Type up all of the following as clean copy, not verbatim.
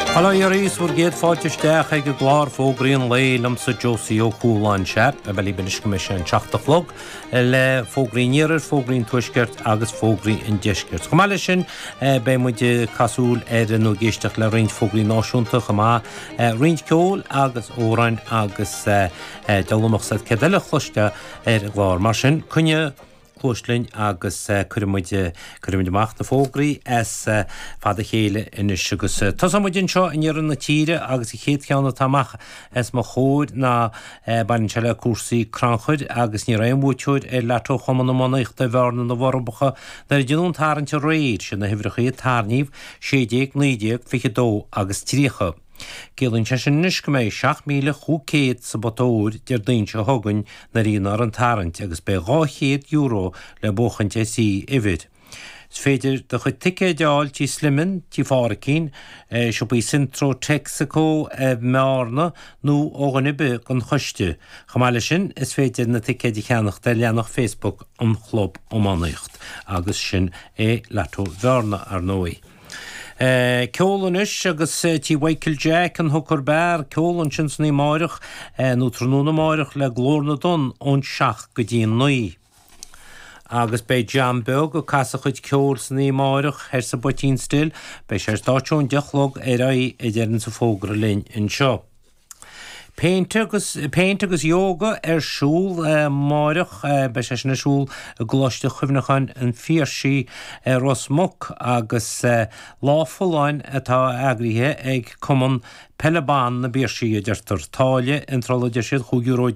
Bail ó Dhia oraibh is bhur gcéad fáilte isteach ag an gclár Fógraí an Lae liomsa Josie Ó Cualáin. Sea, beidh mé libh anois go mbeidh sé an 7 a chlog le Fógraí an Iarthair, Fógraí an Tuaiscirt agus Fógraí an Deiscirt. Chomh maith leis sin beidh muid ag caitheamh súil ar nó ag éisteacht le roinnt fógraí náisiúnta chomh maith, roinnt ceoil agus amhráin agus deabhal a mbeadh a fhios agat céard eile a chloisfeá ar an gclár. Mar sin, coinnigh cluas linn agus cuirfidh muid, cuirfidh muid amach na fógraí as fad a chéile anois agus tosóidh muid anseo in iarthar na tíre agus an chéad cheann atá amach os mo chomhair ná baineann sé le cúrsaí crannchuir agus ní raibh aon bhuaiteoir ar Lotto Chumann Iománaíochta Bhearna na bhForbacha nuair a deineadh an tarraingt aréir, siad na huimhreacha a tarraingíodh, 16, 19, 22 agus 30. Ciallaíonn sé sin anois go mbeidh 7,500 sa bpota óir Déardaoin seo chugainn nuair a dhéanfar an tarraingt agus beidh €200 le buachaint ar thrí uimhir. Is féidir do chuid ticéid a fháil Tí Sliman, Tí Phádhraic, siopaí Centro Texaco i mBearna nó ó dhuine ar bith den choiste. Chomh maith leis sin, is féidir na ticéid a cheannacht ar leathanach Facebook an Chlub Iománaíocht. Agus sin é Lotto Bhearna, ar ndóigh. Ceol anois agus Tí Mhichael Jack an Hooker Bar, ceol ansin san oíche amáireach, nó tráthnóna amáireach le Glór na dTonn ón 7 go dtí an 9. Agus beidh John Beag ag casadh a chuid ceoil san oíche amáireach thoir sa bPoitín Stil, beidh sé ar stáitse ón 10 a chlog ar aghaidh a deireanns an fógra linn anseo. Péint agus Péint agus Yoga ar siúl amáireach. Beidh sé sin ar siúl i gColáiste Chuimhneacháin an Phiarsaigh i Ros Muc agus Lá Folláin atá eagraithe ag Cumann Peile Ban na bPiarsaigh, a deirtear. Táille iontrála a deir siad, €15 euro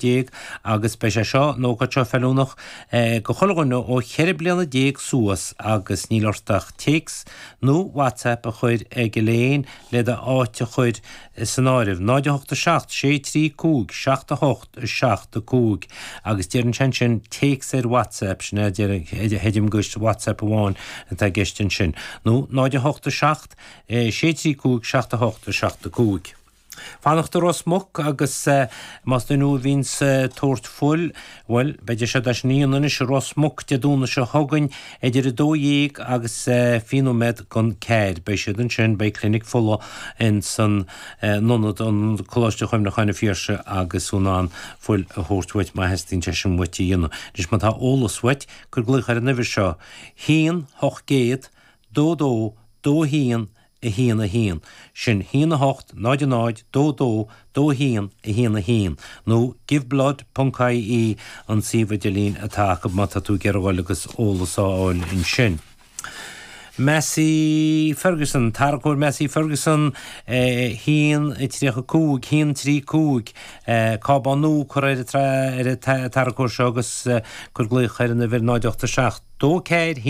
agus beidh sé seo, an ócáid seo feiliúnach do chuile dhuine ó 14 bliana suas agus níl ort ach téacs nó WhatsApp a chur ag Elaine le d'áit a chur san áireamh, 0 8 7 6 3 5 7 8 7 5 agus deireann sé ansin téacs ar WhatsApp, sin é a chreidim gur WhatsApp amháin atá i gceist ansin, nó 0 8 7 6 3 5 7 8 7 5. Fanacht i Ros Muc agus más duine thú a bhíonns ag tabhairt fuil, Bhuel, beidh deis agat é sin a dhéanamh anois i Ros Muc Dé Domhnaigh seo chugainn idir 12 agus 20 nóiméad gon ceathair. Beidh siad ansin, beidh clinic fola in san ionad, an Coláiste Chuimhneacháin an Phiarsaigh agus tú in ann fuil a thabhairt uait má theastaíonn sé sin uait a dhéanamh. Anois má tá eolas uait, cuir glaoch ar an uimhir seo, 1 800 22 21 1 1, sin 1 8 0 0 2 2 2 1 1 1, nó giveblood ponc ie an suíomh idirlín atá acu má tá tú ag iarraidh dhul agus eolas a fháil ansin. Massey Ferguson, Tarracóir Massey Ferguson 1 35 1 3 5, cábán nua curtha ar an tarracóir seo agus cuir glaoch ar an uimhir 0 8 7 2 4 1.